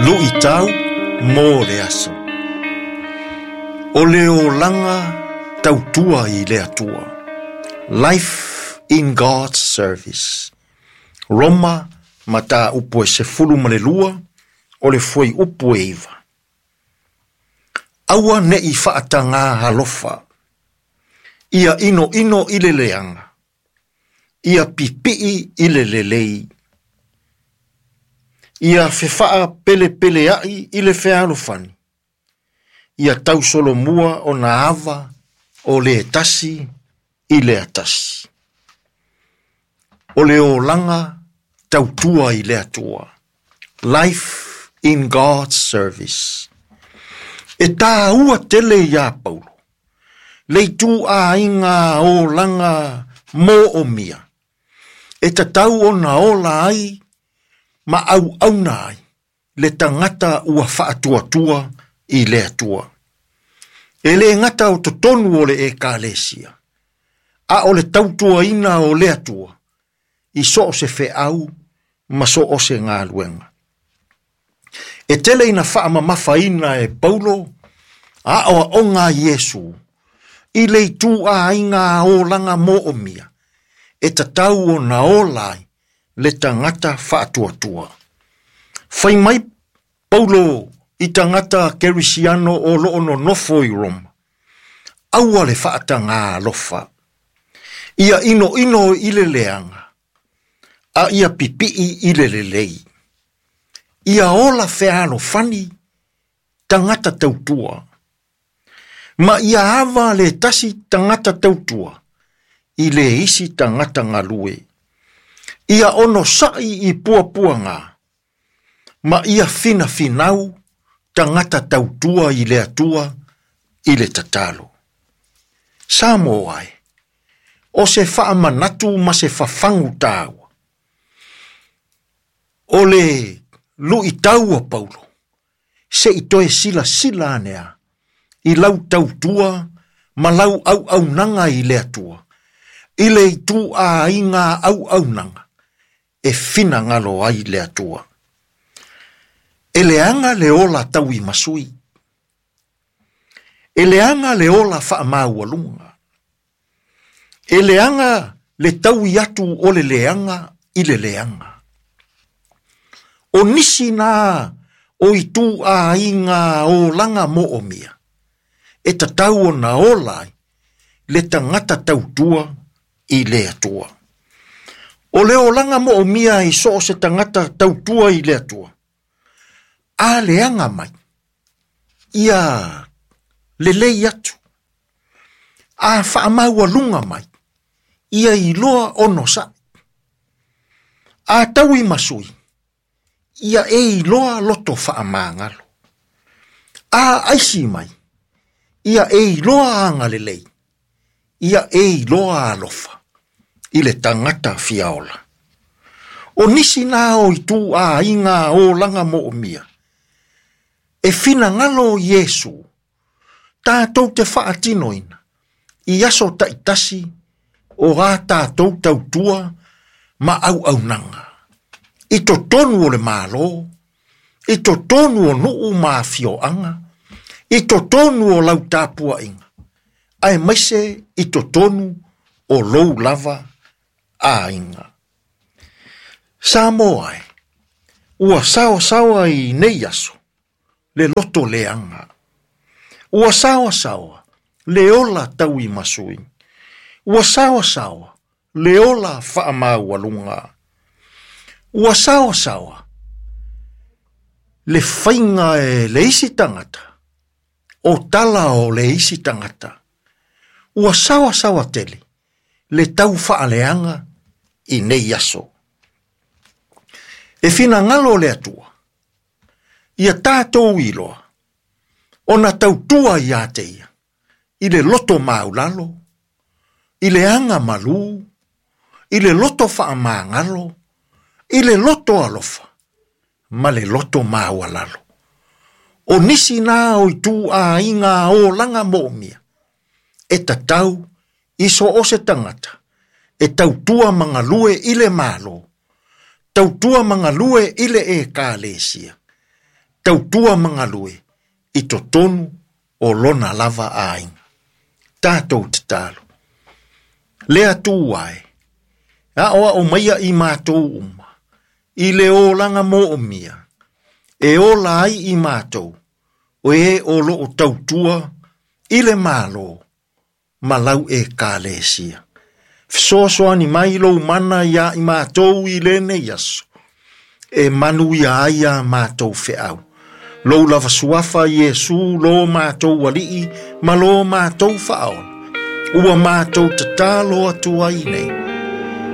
Luʻitau mo le aso. O le olaga tautua i le Atua. Life in God's Service. Roma mataupu e 12 o le fuaiupu e 9. Aua neʻi faatagā alofa. Ia inoino i le leaga. Ia pipii i le lelei. Ia fefaapelepealeai i le fealofani. Ia tausolomua ona ava o le tasi i le atasi. O le olaga tautua i le Atua. Life in God's Service. E tāua tele iā Paulo. Le ituaiga olaga moomia. E tatau ona ola ai ma auauna ai le tagata ua faatuatua i le Atua. E le gata o totonu o le ekalesia, a o le tautuaina o le Atua, i so o se feau ma so o se galuega. E tele ina faamamafaina e Paulo, aoaoga a Iesu, i le ituaiga olaga moomia, e tatau ona ola ai le tagata faatuatua. Fai mai Paulo i tagata kerisiano o loo nonofo i Roma. Aua le faatagā alofa. Ia inoino i le leaga, a ia pipii i le lelei. Ia ola fealofani tagata tautua. Ma ia ava le tasi tagata tautua i le isi tagata galue. Ia onosaʻi i puapuaga, ma ia finafinau tagata tautua i le Atua i le tatalo. Samoa e, o se faamanatu ma se fafagu tāua. O le luʻitau a Paulo, se i toe silasila ane a, i lau tautua ma lau auaunaga i le Atua, i le ituaiga auaunaga e finagalo ai le Atua. E leaga le ola tauimasui. E leaga le ola faamaualuga. E leaga le taui atu o le leaga i le leaga. O nisi na o ituaiga olaga moomia, e tatau ona ola ai le tagata tautua i le Atua. O le olaga moomia i so o se tagata tautua i le Atua, a leaga mai, ia lelei atu, a faamaualuga mai, ia iloa onosaʻi. A tauimasui, ia e iloa loto faamagalo. A aisi mai, ia e iloa agalelei, ia e iloa alofa i le tagata fiaola. O nisi na o ituaiga olaga moomia, e finagalo Iesu, tatou te faatinoina, i aso taitasi o a tatou tautua ma auaunaga. I totonu o le Malo, i totonu o nuu ma afioaga, i totonu o lau tapuaiga, aemaise i totonu o lou lava aiga. Samoa e, ua saoasaoa i nei aso, le loto leaga. Ua saoasaoa le ola tauimasui. Ua saoasaoa le ola faamaualuga. Ua saoasaoa le faiga e le isi tagata, o tala o le isi tagata. Ua saoasaoa tele le tau faaleaga i nei aso. E finagalo le Atua, ia tatou iloa, ona tautua ia te ia, i le loto maulalo, i le agamalu, i le loto faamagalo, i le loto alofa, ma le loto maualalo. O nisi na o ituaiga olaga moomia, e tatau i so o se tagata, e tautua ma galue i le Malo, tautua ma galue i le ekalesia, tautua ma galue i totonu o lona lava aiga. Tatou tatalo. Le Atua e, aoao maia i matou uma, i le olaga moomia, e ola ai i matou, o e o loo tautua i le Malo ma lau Ekalesia. Fesoasoani mai lou mana ia i matou i lenei aso, e manuia ai a matou feau. Lou lava suafa Iesu lo matou alii ma lo matou faaola. Ua matou tatalo atu ai nei.